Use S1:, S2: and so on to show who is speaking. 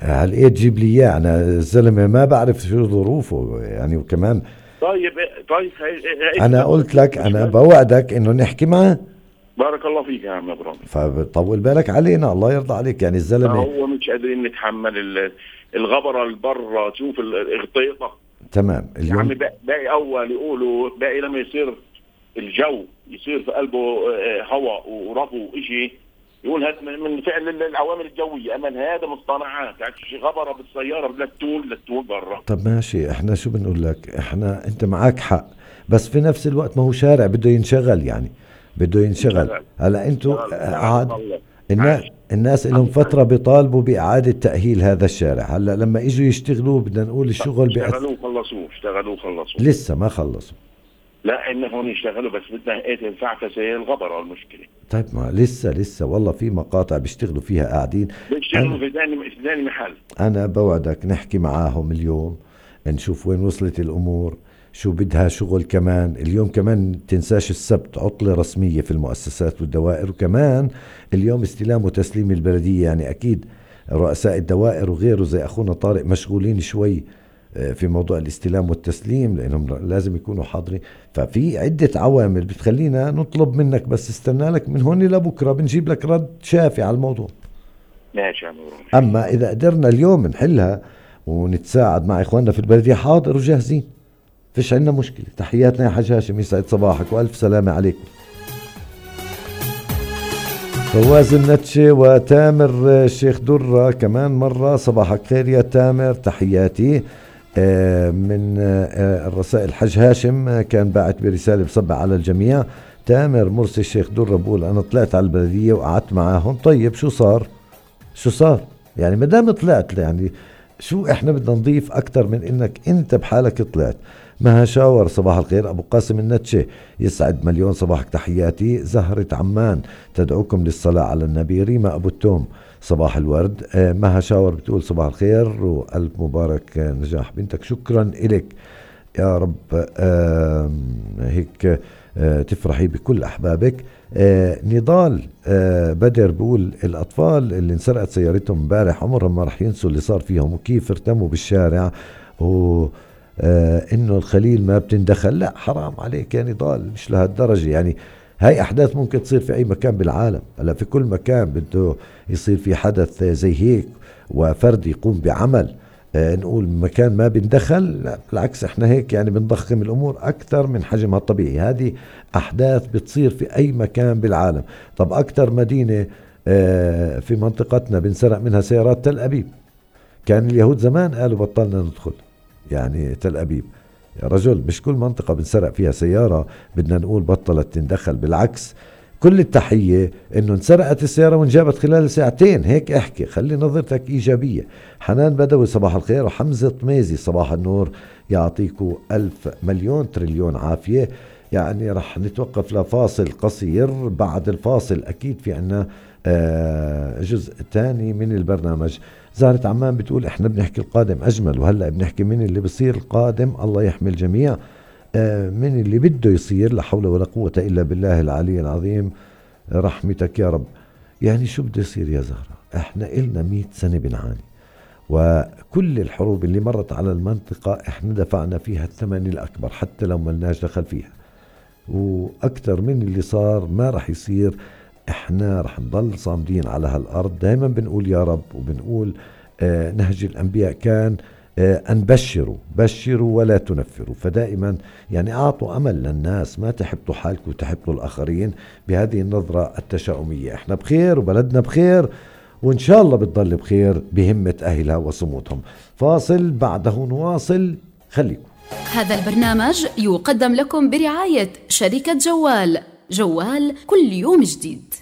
S1: هل ايه تجيب لي اياه؟ انا الزلمه ما بعرف شو ظروفه يعني. وكمان
S2: طيب
S1: انا قلت لك انا بوعدك انه نحكي معه.
S2: بارك الله فيك يا عم ابراهيم.
S1: فطول بالك علينا، الله يرضى عليك. يعني الزلمه
S2: هو مش قادرين نتحمل الغبره البرة، تشوف الغطيطه.
S1: تمام اليوم
S2: يعني باقي اول يقولوا باقي لما يصير الجو يصير في قلبه هواء ورفو وإشي، يقول هذا من فعل العوامل الجويه. اما هذا مصطنعات، يعني غبره بالسياره لا تول برا.
S1: طب ماشي، احنا شو بنقول لك؟ احنا انت معك حق، بس في نفس الوقت ما هو شارع بده ينشغل، يعني بده ينشغل. هلا انتوا الناس لهم فترة بيطالبوا بإعادة تأهيل هذا الشارع. هلا لما اجوا يشتغلوا بدنا نقول الشغل
S2: اشتغلوا خلصوا
S1: لسه ما خلصوا.
S2: لا انهم يشتغلوا، بس بدنا ايه تنفع تسير الغبرة المشكلة.
S1: طيب ما لسه والله في مقاطع بيشتغلوا فيها قاعدين
S2: بيشتغلوا في ثاني محل.
S1: انا بوعدك نحكي معاهم اليوم، نشوف وين وصلت الامور، شو بدها شغل. كمان اليوم كمان تنساش السبت عطلة رسمية في المؤسسات والدوائر، وكمان اليوم استلام وتسليم البلدية. يعني أكيد رؤساء الدوائر وغيره زي أخونا طارق مشغولين شوي في موضوع الاستلام والتسليم، لأنهم لازم يكونوا حاضرين. ففي عدة عوامل بتخلينا نطلب منك، بس استنى لك من هون لبكرة بنجيب لك رد شافي على الموضوع.
S2: ماشي.
S1: أما إذا قدرنا اليوم نحلها ونتساعد مع إخواننا في البلدية، حاضر وجاهزين، فيش عنا مشكلة. تحياتنا يا حاج هاشم، يسعد صباحك وألف سلامة عليكم. فواز النتشي وتامر الشيخ درة كمان مرة، صباحك خير يا تامر، تحياتي. من الرسائل حاج هاشم كان باعت برسالة بصبع على الجميع. تامر مرسي الشيخ درة بقول أنا طلعت على البلدية وقعدت معاهم. طيب شو صار يعني؟ مدام طلعت يعني شو احنا بدنا نضيف اكتر من انك انت بحالك طلعت. مها شاور صباح الخير. ابو قاسم النتشي يسعد مليون صباحك، تحياتي. زهرة عمان تدعوكم للصلاة على النبي. ريما ابو التوم صباح الورد. مها شاور بتقول صباح الخير والف مبارك نجاح بنتك. شكرا إلك يا رب، هيك تفرحي بكل احبابك. نضال بدر بقول الأطفال اللي انسرقت سيارتهم امبارح عمرهم ما رح ينسوا اللي صار فيهم وكيف ارتموا بالشارع، إنه الخليل ما بتندخل. لا حرام عليك يا نضال، مش لهالدرجة. يعني هاي أحداث ممكن تصير في أي مكان بالعالم. هلا في كل مكان بده يصير في حدث زي هيك وفرد يقوم بعمل نقول مكان ما بندخل. لا بالعكس، احنا هيك يعني بنضخم الامور اكثر من حجمها الطبيعي. هذه احداث بتصير في اي مكان بالعالم. طب اكثر مدينة في منطقتنا بنسرق منها سيارات تل ابيب. كان اليهود زمان قالوا بطلنا ندخل يعني تل ابيب. يا رجل مش كل منطقة بنسرق فيها سيارة بدنا نقول بطلت تندخل. بالعكس، كل التحية انه انسرقت السيارة وانجابت خلال ساعتين. هيك احكي، خلي نظرتك ايجابية. حنان بدوي صباح الخير. وحمزة طميزي صباح النور، يعطيكم ألف مليون تريليون عافية. يعني رح نتوقف لفاصل قصير، بعد الفاصل اكيد في عنا جزء تاني من البرنامج. زهرة عمان بتقول احنا بنحكي القادم اجمل، وهلأ بنحكي من اللي بصير القادم. الله يحمي الجميع من اللي بده يصير. لا حول ولا قوة إلا بالله العلي العظيم، رحمتك يا رب. يعني شو بده يصير يا زهرة؟ احنا إلنا 100 سنة بنعاني، وكل الحروب اللي مرت على المنطقة احنا دفعنا فيها الثمن الأكبر حتى لو ملناش دخل فيها. وأكثر من اللي صار ما رح يصير. احنا رح نضل صامدين على هالأرض. دايما بنقول يا رب، وبنقول نهج الأنبياء كان أن بشروا ولا تنفروا. فدائما يعني أعطوا أمل للناس، ما تحبطوا حالكم وتحبطوا الآخرين بهذه النظرة التشاؤمية. احنا بخير وبلدنا بخير، وإن شاء الله بتضل بخير بهمة أهلها وصمودهم. فاصل بعده نواصل، خليكم.
S3: هذا البرنامج يقدم لكم برعاية شركة جوال كل يوم جديد.